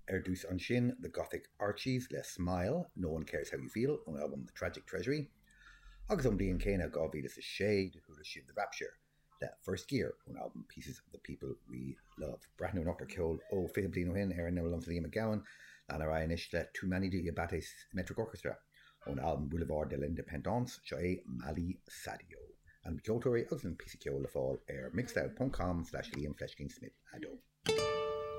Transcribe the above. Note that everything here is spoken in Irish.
Ar dtús ansin, The Gothic Archies le Smile, No One Cares How You Feel ón albam The Tragic Treasury. Agus ón mbliain chéanna, 2006, do chuala sibh The Rapture le First Gear ón albam Pieces of the People We Love. Breathnú anocht ar cheol ó 20 bliain ó shin ar an imeall liomsa Liam Mac Gabhann. Lean ar aghaidh anois le Toumani Diabaté Symmetric Orchestra ón albam Boulevard de l'Indépendance, seo é Mali Sadio. Ainm na gceoltóirí agus an píosa ceoil le fáil ar mixcloud.com slash liam fleiscín smith 2.